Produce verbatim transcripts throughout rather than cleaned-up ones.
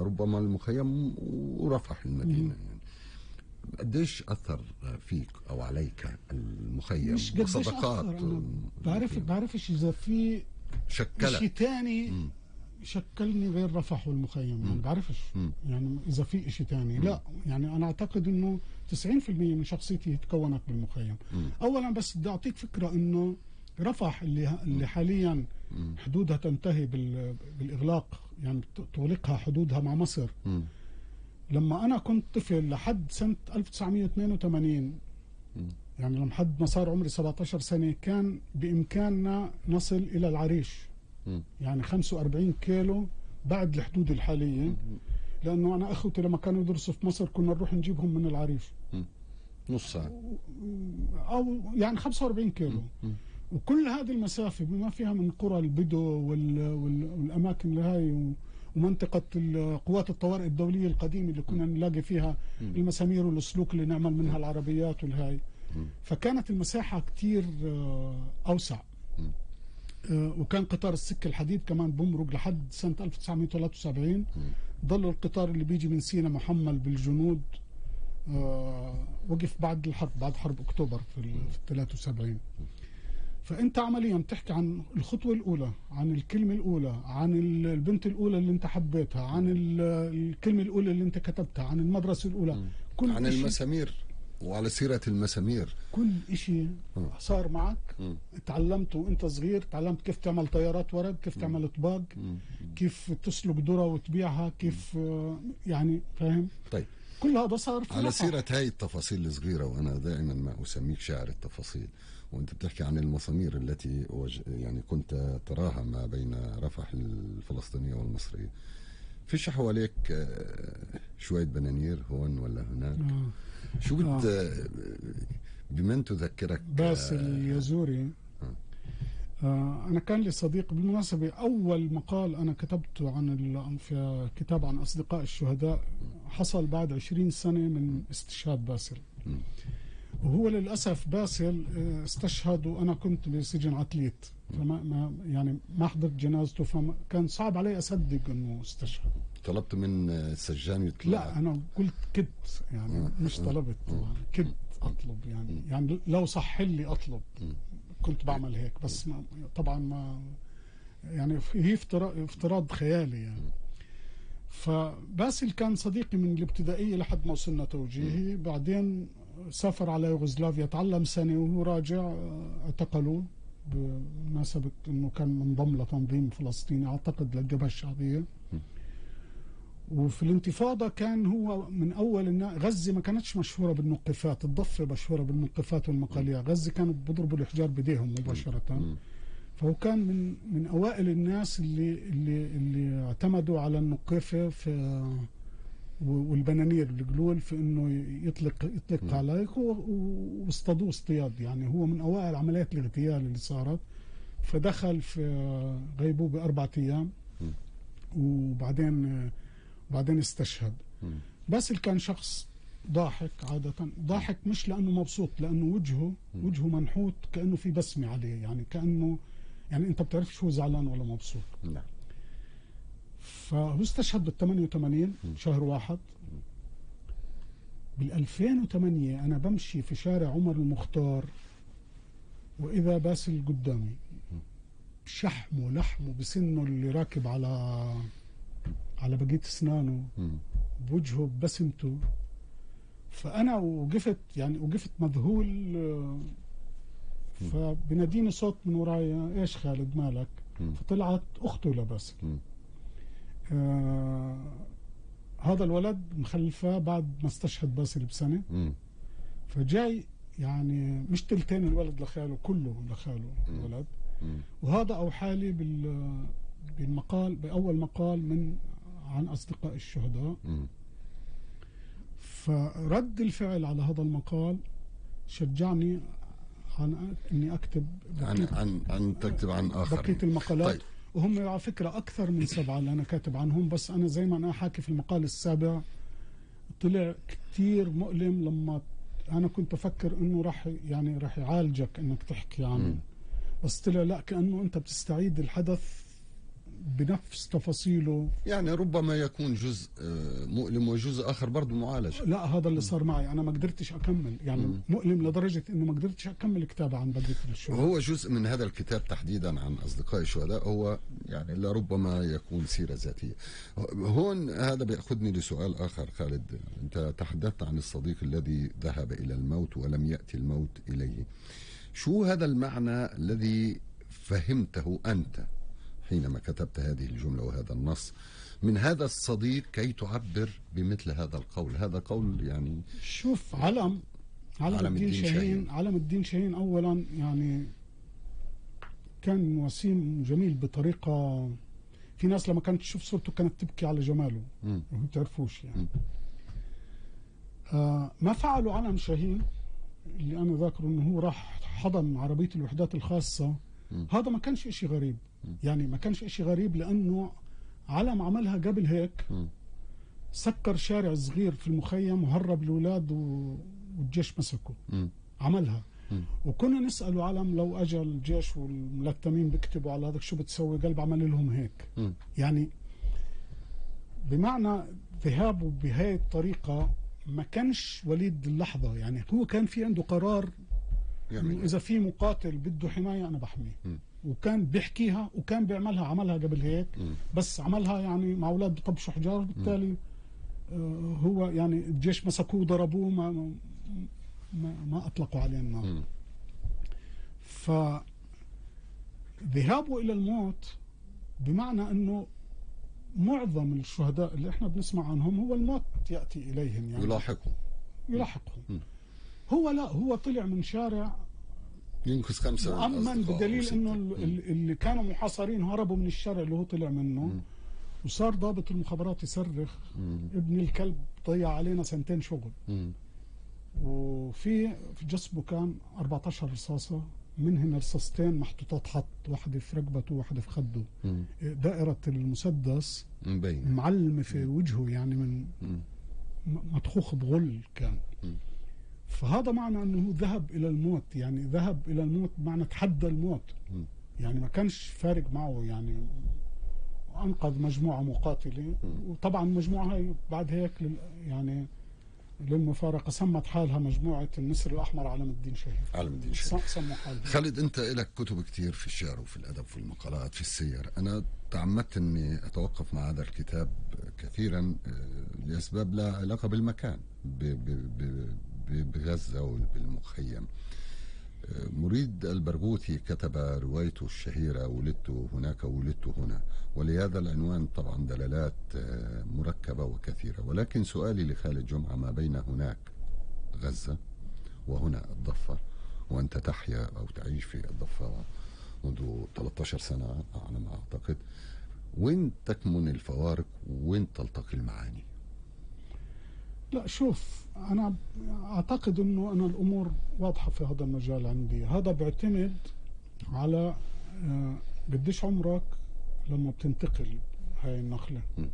ربما المخيم ورفح المدينة. يعني قديش أثر فيك أو عليك المخيم وصداقات؟ بعرف بعرفش إذا في شكلك شيء تاني مم. شكلني غير رفح والمخيم. يعني بعرفش مم. يعني إذا في إشي تاني مم. لا يعني أنا أعتقد إنه تسعين في المية من شخصيتي تكونت بالمخيم. مم. أولا بس بدي أعطيك فكرة إنه رفح اللي اللي حاليا مم. حدودها تنتهي بالإغلاق، يعني تغلقها حدودها مع مصر. مم. لما أنا كنت طفل لحد سنة ألف وتسعمية واثنين وثمانين مم. يعني لحد ما صار عمري سبعة عشر سنة كان بإمكاننا نصل إلى العريش. مم. يعني خمسة وأربعين كيلو بعد الحدود الحالية. مم. لأنه أنا أخوتي لما كانوا يدرسوا في مصر كنا نروح نجيبهم من العريش. مم. نص ساعة أو يعني خمسة وأربعين كيلو. مم. وكل هذه المسافة بما فيها من قرى البدو وال... وال... والأماكن لهاي ومنطقة قوات الطوارئ الدولية القديمة اللي كنا نلاقي فيها مم. المسامير والسلوك اللي نعمل منها العربيات والهاي. مم. فكانت المساحة كتير أوسع. مم. وكان قطار السكة الحديد كمان بمرق لحد سنة ألف وتسعمية وثلاثة وسبعين. ضل القطار اللي بيجي من سينا محمل بالجنود آه وقف بعد الحرب، بعد حرب أكتوبر في ال ثلاثة وسبعين. فأنت عمليا بتحكي عن الخطوة الأولى، عن الكلمة الأولى، عن البنت الأولى اللي أنت حبيتها، عن الكلمة الأولى اللي أنت كتبتها، عن المدرسة الأولى، كل عن المسامير. وعلى سيرة المسامير كل إشي صار معك م. تعلمته وانت صغير. تعلمت كيف تعمل طيارات ورق، كيف م. تعمل طباق، م. كيف تسلق ذرة وتبيعها، كيف م. يعني فاهم. طيب كل هذا صار في على رفح. سيرة هاي التفاصيل الصغيرة، وأنا دائما ما أسميك شاعر التفاصيل، وأنت بتحكي عن المسامير التي يعني كنت تراها ما بين رفح الفلسطينية والمصرية. فيش حواليك شوية بنانير هون ولا هناك؟ آه. شو بت آه. بمن تذكرك؟ باسل اليزوري. آه. آه أنا كان لي صديق بالمناسبة، أول مقال أنا كتبته عن في كتاب عن أصدقاء الشهداء حصل بعد عشرين سنة من استشهاد باسل. م. وهو للأسف باسل استشهد وأنا كنت بسجن عتليت، فما ما يعني ما حضرت جنازته، فكان صعب علي أصدق إنه استشهد. طلبت من السجان يطلع؟ لا أنا قلت كدت يعني آه. مش طلبت آه. كدت أطلب يعني م. يعني لو صح لي أطلب م. كنت بعمل هيك، بس ما طبعا ما يعني هي افتراض خيالي يعني. فباسل كان صديقي من الابتدائية لحد ما وصلنا توجيهي. م. بعدين سافر على يوغوسلافيا، تعلم سنة وهو راجع اعتقلوا بمناسبة انه كان منضم لتنظيم فلسطيني اعتقد للجبهة الشعبية. وفي الانتفاضة كان هو من اول الناس. غزة ما كانتش مشهورة بالنقفات، الضفة مشهورة بالنقفات والمقاليع، غزة كانوا بيضربوا الحجار بديهم مباشرة. فهو كان من من اوائل الناس اللي اللي اللي اعتمدوا على النقافة في والبنانير القلول في انه يطلق يطلق عليك، واصطادوه اصطياد. يعني هو من اوائل عمليات الاغتيال اللي صارت. فدخل في غيبوبة اربعة ايام وبعدين بعدين استشهد. بس اللي كان شخص ضاحك عادة، ضاحك مش لانه مبسوط، لانه وجهه وجهه منحوت كانه في بسمة عليه، يعني كانه يعني انت بتعرفش هو زعلان ولا مبسوط. نعم. فهو استشهد بال ثمانية وثمانين شهر واحد. بال ألفين وثمانية أنا بمشي في شارع عمر المختار وإذا باسل قدامي شحمه لحمه بسنه اللي راكب على على بقية أسنانه بوجهه ببسمته. فأنا وقفت يعني وقفت مذهول. فبناديني صوت من ورايا، إيش خالد مالك؟ فطلعت أخته لباسل. آه هذا الولد مخلفه بعد ما استشهد باسل بسنة. م. فجاي يعني مش تلتين الولد لخاله، كله لخاله الولد. م. وهذا أوحالي بال بالمقال بأول مقال من عن أصدقاء الشهداء. م. فرد الفعل على هذا المقال شجعني عن اني اكتب عن عن عن تكتب عن اخر بقية المقالات. طيب. وهم على فكرة أكثر من سبعة اللي أنا كاتب عنهم، بس أنا زي ما أنا حاكي في المقال السابع طلع كتير مؤلم لما أنا كنت أفكر إنه راح يعني راح يعالجك إنك تحكي عنه، بس طلع لا، كأنه أنت بتستعيد الحدث بنفس تفاصيله. يعني ربما يكون جزء آه، مؤلم وجزء آخر برضه معالج. لا هذا اللي صار معي، أنا ما قدرتش أكمل يعني م. مؤلم لدرجة إنه ما قدرتش أكمل كتابة عن بقية الشهداء. هو جزء من هذا الكتاب تحديدا عن أصدقاء الشهداء هو يعني لربما يكون سيرة ذاتية. هون هذا بيأخذني لسؤال آخر خالد، أنت تحدثت عن الصديق الذي ذهب إلى الموت ولم يأتي الموت إليه. شو هذا المعنى الذي فهمته أنت حينما كتبت هذه الجملة وهذا النص من هذا الصديق كي تعبر بمثل هذا القول؟ هذا قول يعني شوف، علم علم, علم الدين, الدين شاهين, شاهين علم الدين شاهين أولا يعني كان وسيم جميل بطريقة، في ناس لما كانت تشوف صورته كانت تبكي على جماله وما تعرفوش يعني. آه ما فعله علم شاهين اللي أنا ذاكره إنه هو راح حضن عربية الوحدات الخاصة، م. هذا ما كانش إشي غريب، م. يعني ما كانش إشي غريب لأنه علم عملها قبل هيك، م. سكر شارع صغير في المخيم وهرب الأولاد والجيش مسكه، م. عملها. م. وكنا نسأله علم لو أجى الجيش والملتمين بيكتبوا على هذا شو بتسوي؟ قلب عمل لهم هيك. م. يعني بمعنى ذهابه بهاي الطريقة ما كانش وليد اللحظة، يعني هو كان في عنده قرار إنه إذا في مقاتل بده حماية أنا بحميه، م. وكان بيحكيها وكان بيعملها، عملها قبل هيك، م. بس عملها يعني مع أولاد بطبشوا حجار، بالتالي آه هو يعني الجيش مسكوه ضربوه ما ما, ما أطلقوا عليه النار. فذهابه إلى الموت بمعنى أنه معظم الشهداء اللي احنا بنسمع عنهم هو الموت يأتي إليهم، يعني يلاحقهم يلاحقهم. هو لا، هو طلع من شارع ينقذ خمسة مؤمن، بدليل انه اللي كانوا محاصرين هربوا من الشارع اللي هو طلع منه. م. وصار ضابط المخابرات يصرخ م. ابن الكلب ضيع علينا سنتين شغل. م. وفي في جسمه كان أربعة عشر رصاصة، منهن رصاصتين محطوطات خط، واحدة في رقبته وواحدة في خده. م. دائرة المسدس مبين معلمة في وجهه، يعني من م. مطخوخ بغل كان. م. فهذا معنى أنه ذهب إلى الموت، يعني ذهب إلى الموت معنى تحدى الموت. م. يعني ما كانش فارق معه، يعني أنقذ مجموعة مقاتلة. م. وطبعا المجموعة هاي بعد هيك يعني للمفارقة سمت حالها مجموعة النسر الأحمر علم الدين شاهين. علم الدين شاهين سموا حالها. خالد، أنت لك كتب كتير في الشعر وفي الأدب وفي المقالات في السير. أنا تعمدت أني أتوقف مع هذا الكتاب كثيرا لأسباب لا علاقة بالمكان بغزة وبالمخيم. مريد البرغوثي كتب روايته الشهيرة ولدت هناك ولدت هنا، ولهذا العنوان طبعا دلالات مركبة وكثيرة. ولكن سؤالي لخالد جمعة، ما بين هناك غزة وهنا الضفة، وأنت تحيا أو تعيش في الضفة منذ ثلاثة عشر سنة على ما أعتقد، وين تكمن الفوارق وين تلتقي المعاني؟ لا شوف، أنا أعتقد أنه أنا الأمور واضحة في هذا المجال عندي. هذا بيعتمد على قديش عمرك لما بتنتقل هاي النقلة. م.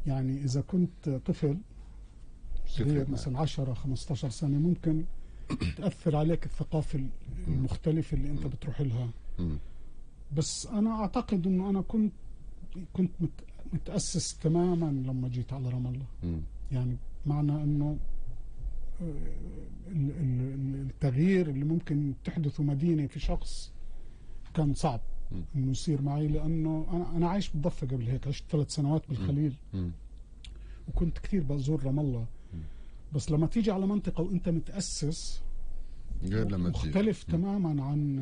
يعني إذا كنت طفل صغير مثلا عشرة خمسة عشر سنة، ممكن تأثر عليك الثقافة المختلفة اللي أنت بتروح لها. م. بس أنا أعتقد أنه أنا كنت كنت متأسس تماما لما جيت على رام الله. م. يعني معنى أنه التغيير اللي ممكن تحدثه مدينة في شخص كان صعب انه يصير معي، لانه انا انا عايش بالضفه قبل هيك، عشت ثلاث سنوات بالخليل وكنت كثير بزور رام الله. بس لما تيجي على منطقه وانت متاسس غير لما مختلف تيجي. تماما عن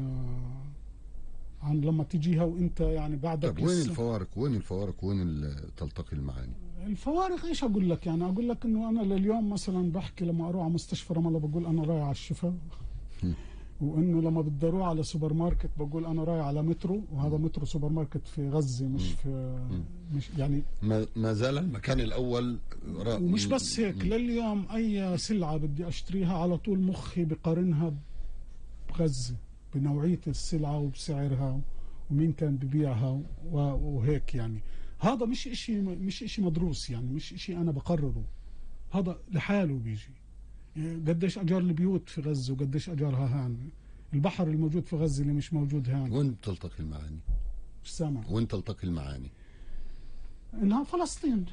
عن لما تيجيها وانت يعني بعدك. طب وين الفوارق وين الفوارق وين تلتقي المعاني؟ الفوارق ايش اقول لك؟ يعني اقول لك انه انا لليوم مثلا بحكي لما اروح على مستشفى رام الله بقول انا رايح على الشفاء، وانه لما بدي اروح على سوبر ماركت بقول انا رايح على مترو، وهذا مترو سوبر ماركت في غزه مش في مش يعني ما, ما زال المكان الاول. ومش بس هيك، لليوم اي سلعه بدي اشتريها على طول مخي بقارنها بغزه، بنوعيه السلعه وبسعرها ومين كان ببيعها وهيك. يعني هذا مش اشي مش اشي مدروس، يعني مش اشي انا بقرره، هذا لحاله بيجي. قديش اجار البيوت في غزه وقديش اجارها هان، البحر الموجود في غزه اللي مش موجود هان. وين بتلتقي المعاني؟ مش سامع. وين تلتقي المعاني؟ انها فلسطين